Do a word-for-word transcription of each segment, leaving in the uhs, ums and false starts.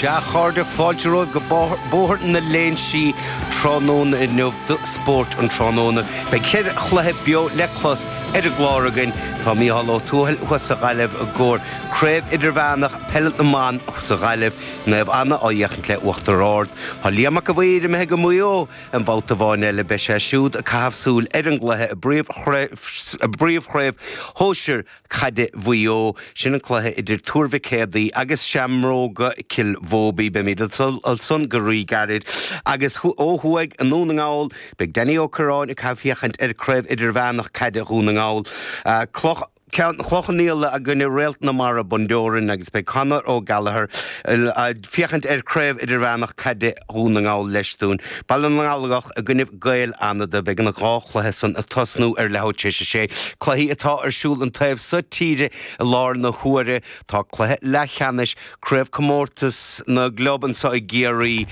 Sea, a chairde, fáilte romhaibh go Bóthar na Léinsí tráthnóna inniu do Spórt an Tráthnóna. Beidh ceithre chluiche beo le clos ar an gclár againn. Tá Mícheál Ó Tuathail thuas sa Ghaillimh i gcomhair Craobh Idirmheánach Peile na mBan sa Ghaillimh, Naomh Anna á fhéachaint le Uachtar Ard. Tá Liam Mac a' Mhaoir imithe go Maigh Eo an babhta amháin eile, beidh sé siúd ag caitheamh súil ar an gcluiche i bPríomhchraobh Shóisir Caide Mhaigh Eo. Sin an cluiche idir Tuar Mhic Éadaigh agus Seamróga Cill Bhóibí. Beimid ansan go rí-ghairid. Agus ó thuaidh i nDún na nGall, beidh Danny Ó Curráin ag caitheamh féachaint ar Craobh Idirmheánach Caide Dhún na nGall. Cloch Cloch Cheann Fhaola i gcoinne Réalt na Mara Bundoran agus beidh Conor Ó Gallchóir ag féachaint ar Craobh Idirmheánach Caide Dhún na nGall leis dúinn. Baile na nGallach i gcoinnibh Gaeil Fhánada. Beidh na dhá chluiche san ag tosnú ar leathuair tar éis a sé. Cluichí atá ar siúl an taobh so tíre i láthair na huaire. Tá cluiche leathcheannais Craobhchomórtas na gClub anso i gCiarraí,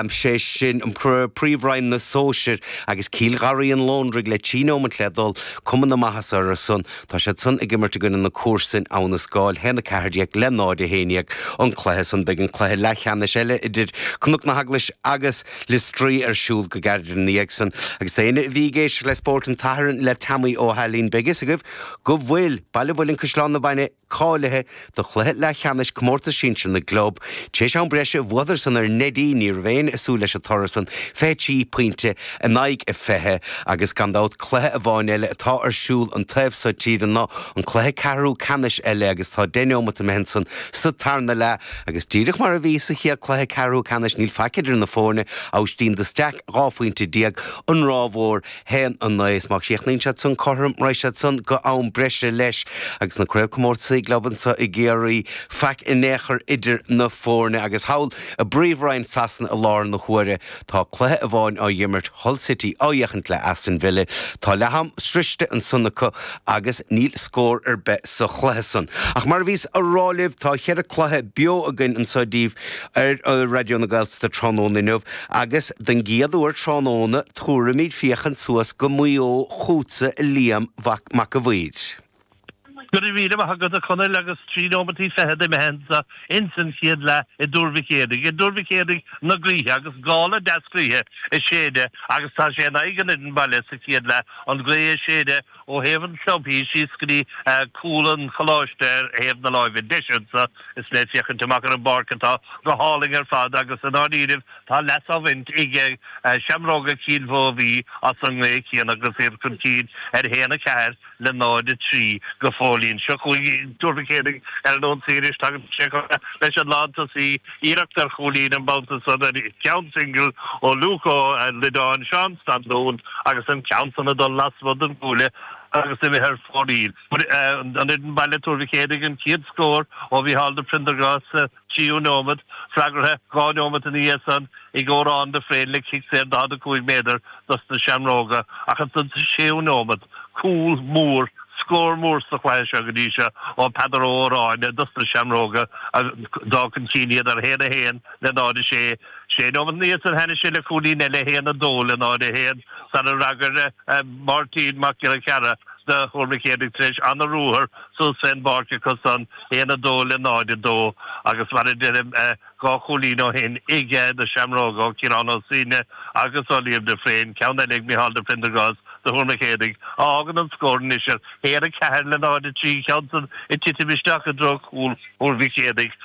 sé sin an Príomhroinn na Sóisear agus Cill Gharraí an Lóndraigh le trí neomat le dul. Cuma na maitheasa orthu san. Tá siad san ag imirt i gcoinne na comharsan, Abha na Scáil, haon a ceathair déag le náid a haon déag an cluiche san. Beidh an cluiche leathcheannais eile idir Cnoc na hEaglaise agus Liostraí ar siúl go gairid ina dhiaidh san. Agus d'éinne a bhí ag éisteacht le Spórt an tSathairn le Teamaí Ó hAilín, beidh fhios agaibh go bhfuil Baile Mhuilinn Caisleán na Maighne cáilithe do chluiche leathcheannais Comórtas Sinsir na gClub. Tar éis am breise, bhuadar san ar Neidí, ní raibh éinne ag súil leis an toradh san, fiche trí pointe in aghaidh a fiche, agus gan dabht cluiche amháin eile atá ar siúl an taobh so tíre ná an cluiche ceathrú ceannais eile agus tá deich neomat imithe ansan sa tarna leath agus díreach mar a bhí sa chéad cluiche ceathrú ceannais níl faic idir na foirne, Aibhistín de Staic dhá phointe déag, An Ráth Mhór haon a naoi is má chríochnaíonn siad san cothrom raghaidh siad san go am breise leis agus na craobhchomórtasaí gclub anso i gCiarraí faic in aon chor idir na foirne agus thall i bPríomhroinn Sasana i láthair na huaire tá cluiche amháin á imirt Hull City á fhéachaint le Aston Villa. Tá leath-am sroiste ansan acu agus níl scór ar bith sa chluiche san. Ach mar a bhíos a rá libh tá cheithre cluiche beo againn anso daoibh ar Raidió na Gaeltachta tráthnóna inniu agus den gcéad uair tráthnóna tabharfaimid féachaint suas go Maigh Eo chugatsa a Liam Mac a' Mhaoir. Go raibh míle maith agat a Chonaill agus trí nóimeataí fichead imithe anso ins an chéad leath i dTuar Mhic Éadaigh, i dTuar Mhic Éadaigh na gaoithe agus gála deas gaoithe ag séideadh agus tá sé in aghaidh an fhoireann baile sa chéad leath, an ghaoth ag séideadh ó thaobh an chlubthí síos go dtí cúl an choláiste ar thaobh na láimhe deise anso is mé ag féachaint amach ar an bpáirc atá go hálainn ar fad agus i ndáiríribh tá leas á bhaint ag Seamróga Chill Mhóibhí as an ngaoth chéanna agus iad chun cinn ar a haon a ceathair le náid a trí go fóillín. Seo chugainn Tuar Mhic Éadaigh ar an ionsaí anois. Tagann sé leis an lántosaí. Iarracht ar chúilín an babhta san ar cheann singil ó Luke Ó Loideáin, Seán Standún agus an ceann san ag dul lasmuigh den gcuaille agus imithe ar fóraoil. An fhoireann baile Tuar Mhic Éadaigh an chéad scór ó Mhícheál de Prendergast sa tríú nóimeat, freagartha dhá nóimeat ina dhiaidh san ag Odhrán de Fréin le cic saor daichead a cúig méadar dos na Seamróga ach ansan sa séú nóimeat cúl mór, scór mór sa chluiche seo go dtí seo ó Peadar Ó Odhráin dos na Seamróga a d'fhág chun cinn iad ar a haon a haon le náid a sé. Sé nóimeat ina dhiaidh san tháinig sé le cúilín eile, a haon a dó le náid a haon, sara fhreagair Máirtín Mac Giolla Chearra do Thuar Mhic Éadaigh tar éis ana-ruathar suas fén bpáirc acu san, a haon a dó le náid a dó agus mar a deirim, dhá chúilín ó shin ag na Seamróga ó Ciarán Ó Suibhne agus ó Liam de Fréin, ceann eile ag Micheál de Prendergast do Thuar Mhic Éadaigh, a fhágann an scór anois ar a haon a ceathair le náid a trí, ceann san ag titim isteach i dtreo chúl Thuar Mhic Éadaigh.